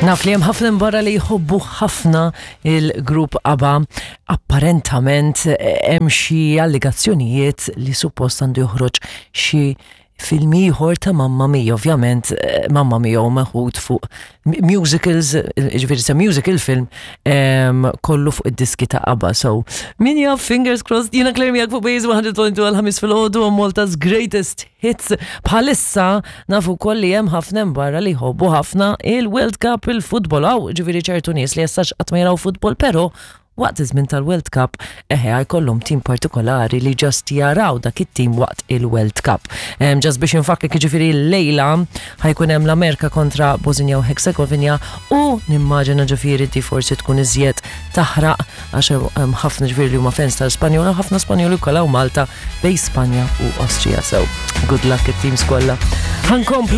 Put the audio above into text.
Naf li hemm ħafna barra li jħobbu ħafna il-grupp ABBA. Apparentament hemm xi allegazzjonijiet li suppost għandu joħroġ xi film ieħor ta' Mamma Mia, ovvjament eh, Mamma Mia u meħud fuq musicals, ġifieri sa musical film kollu fuq id-diski ta' ABBA. So, min jaf, fingers crossed, jiena Claire miegħek fuq Base 100.2 għal-ħamis fil-ħodu Malta's greatest hits. Bħalissa nafu wkoll li hemm ħafna hemm barra li jħobbu ħafna il-World Cup il-futbol hawn ġifieri ċertu nies li jessax qatt ma jaraw futbol, però waqt iż-żmien tal-World Cup eħe jkollhom tim partikolari li just jaraw dak it-tim waqt il-World Cup. Just biex infakkek jiġifieri llejla ħa jkun hemm l-Amerika kontra Bosnia u Herzegovina u nimmaġina ġifieri di forsi tkun iżjed taħraq għax hemm ħafna ġifieri li huma fans tal-Spanjol u ħafna Spanjoli wkoll hawn Malta bejn Spanja u Austria. So, good luck it-teams kollha. Ħankomplu.